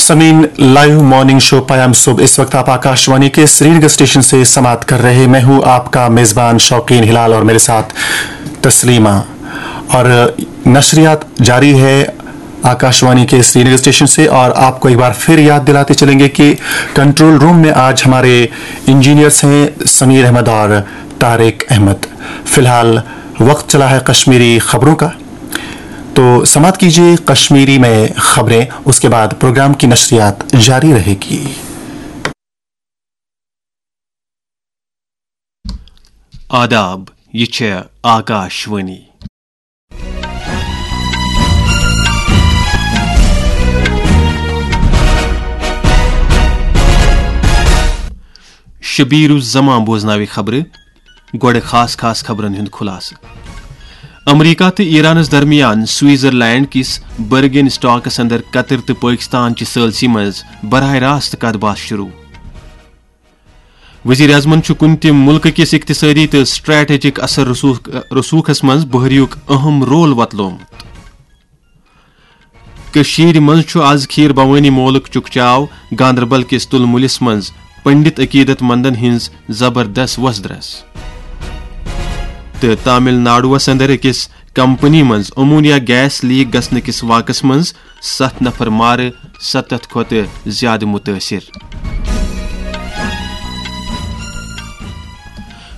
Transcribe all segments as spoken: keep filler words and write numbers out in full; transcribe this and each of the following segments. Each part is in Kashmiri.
سمین، لائیو مارننگ شو پیام صبح اس وقت آپ آکاشوانی کے سرینگر اسٹیشن سے سماعت کر رہے۔ میں ہوں آپ کا میزبان شوقین ہلال اور میرے ساتھ تسلیمہ۔ اور نشریات جاری ہے آکاشوانی کے سرینگر اسٹیشن سے، اور آپ کو ایک بار پھر یاد دلاتے چلیں گے کہ کنٹرول روم میں آج ہمارے انجینئرز ہیں سمیر احمد اور طارق احمد۔ فی الحال وقت چلا ہے کشمیری خبروں کا، تو سماعت کیجیے کشمیری میں خبریں، اس کے بعد پروگرام کی نشریات جاری رہے گی۔ آداب، یہ چھے آکاشوانی۔ شبیر الزمان بوزناوِ خبرٕ۔ گۄڈٕ خاص خاص خبرن ہُنٛد خلاصہٕ۔ امریکہ تہٕ ایرانس درمیان سوئٹزرلینڈ کِس برگن اسٹاکس اندر قطر تہٕ پٲکستان چہِ ثٲلثی منٛز براہ راست کتھ باتھ شروع۔ وزیر اعظمن چھُ کُنہِ تہِ مُلکہٕ کِس اقتصٲدی تہٕ سٹریٹجک اثر رسوخ، رسوخس منٛز بحریُک اہم رول وۄتلومُت۔ کٔشیٖرِ منٛز چھُ از کھیٖر بھوٲنی مولُک چکچاو۔ گاندربل کِس تُلمُلِس منٛز پنڈت عقیدت مندن ہٕنٛز زبردست وۄزدرس۔ تہٕ تامل ناڈوَس اندر أکِس کمپنی منٛز امونیا گیس لیک گژھنہٕ کِس واقعس منٛز ستھ نفر مارٕ، ستتھ کھۄتہٕ زیادٕ متٲثر۔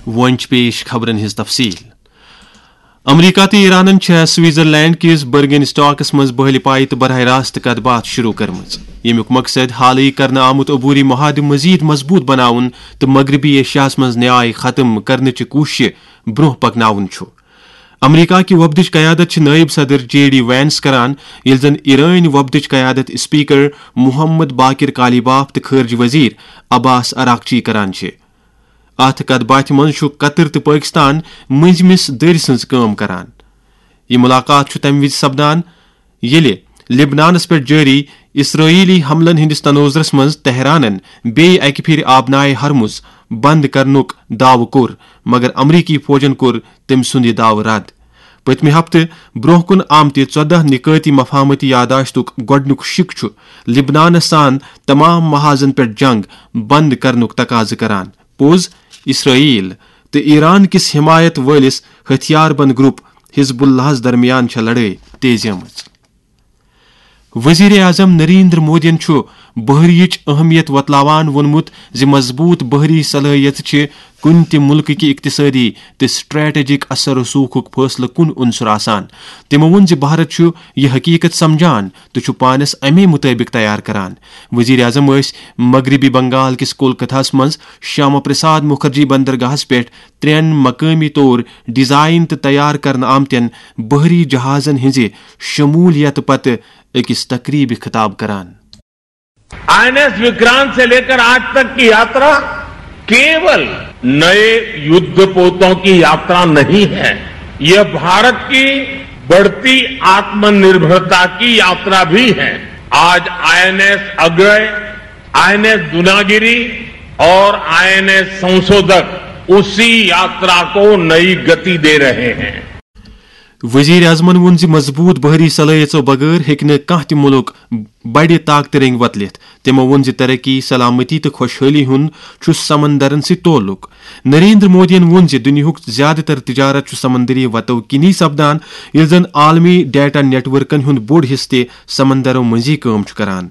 وۄنۍ چھِ پیش خبرن ہٕنٛز تفصیل۔ امریکہ تہٕ ایرانن چھےٚ سوئٹزرلینڈ کِس برگن اسٹاکس منٛز بحلی پایہِ تہٕ براہ راست کتھ باتھ شروع کٔرمٕژ، ییٚمیُک مقصد حالٕے کرنہٕ آمُت عبوری معاہدٕ مزید مضبوط بناوُن تہٕ مغربی ایشیاہس منٛز نیاے ختم کرنٕچہِ کوٗششہِ برونٛہہ پکناوُن چھُ۔ امریکہ کہِ وفدٕچ قیادت چھِ نائب صدر جے ڈی وینس کران، ییٚلہِ زن ایرٲنۍ وفدٕچ قیادت اسپیکر محمد باقر قالیباف تہٕ خارجہ وزیر عباس عراقچی کران چھِ۔ اتھ کتھ باتھِ منٛز چھُ قطر تہٕ پٲکستان مٔنٛزمِس دٔرۍ سٕنٛز کٲم کران۔ یہِ مُلاقات چھُ تَمہِ وِزِ سپدان، ییٚلہِ لبنانس پٮ۪ٹھ جٲری اسرٲیلی حملن ہٕنٛدِس تناظرس منٛز تہرانن بیٚیہِ اکہِ پھِرِ آبنائے ہرمز بند کرنُک دعوٕ کوٚر، مگر امریکی فوجن کوٚر تٔمۍ سُنٛد یہِ دعوٕ رد۔ پٔتمہِ ہفتہٕ برونٛہہ کُن آمتہِ ژۄدہ نکٲتی مفاہمتی یادداشتُک گۄڈٕنیُک شِک چھُ لبنانس سان تمام محاذن پٮ۪ٹھ جنگ بند کرنُک تقاضہٕ کران۔ پوٚز، اسرائیل تہٕ ایران کِس حمایت وٲلِس ہتھیار بند گروپ حزب اللہس درمیان چھےٚ لڑٲے تیزیمٕژ۔ وزیر اعظم نریندر مودیَن چھُ بحریٕچ اہمیت وۄتلاوان ووٚنمُت زِ مضبوط بحری صلٲحیژٕ چھِ کُنہِ تہِ مُلکٕکہِ اقتصٲدی تہٕ سٹریٹجک اثر رسوخُک فٲصلہٕ کُن عنصر آسان۔ تِمو ووٚن زِ بھارت چھُ یہِ حقیقت سمجھان تہٕ چھُ پانس اَمے مُطٲبِق تیار کران۔ وزیر اعظم ٲسۍ مغربی بنگال کِس کولکتھاہَس منٛز شیاما پرساد مُکھرجی بندرگاہَس پٮ۪ٹھ ترٛٮ۪ن مقٲمی طور ڈیزائن تہٕ تیار کرنہٕ آمتٮ۪ن بحری جہازن ہٕنٛزِ شمولیت پتہٕ أکِس تقریبہِ خطاب کران۔ आईएनएस विक्रांत से लेकर आज तक की यात्रा केवल नए युद्धपोतों की यात्रा नहीं है, यह भारत की बढ़ती आत्मनिर्भरता की यात्रा भी है। आज आईएनएस अग्रय, आईएनएस दुनागिरी और आईएनएस संशोधक उसी यात्रा को नई गति दे रहे हैं। وزیر اعظمن ووٚن زِ مضبوط بحری صلٲحیژو بغٲر ہیٚکہِ نہٕ کانٛہہ تہِ مُلک بڑِ طاقتہٕ رٔنگۍ وۄتلِتھ۔ تِمو ووٚن زِ ترقی، سلامتی تہٕ خۄشحٲلی ہُنٛد چھُ سمندرن سۭتۍ تعلق۔ نریندر مودیَن ووٚن زِ دُنیاہُک زیادٕ تر تجارت چھُ سمندری وتو کِنی سپدان، ییٚلہِ زن عالمی ڈیٹا نیٹ ورکن ہُنٛد بوٚڑ حصہٕ تہِ سمندرو مٔنٛزی کٲم چھُ کران۔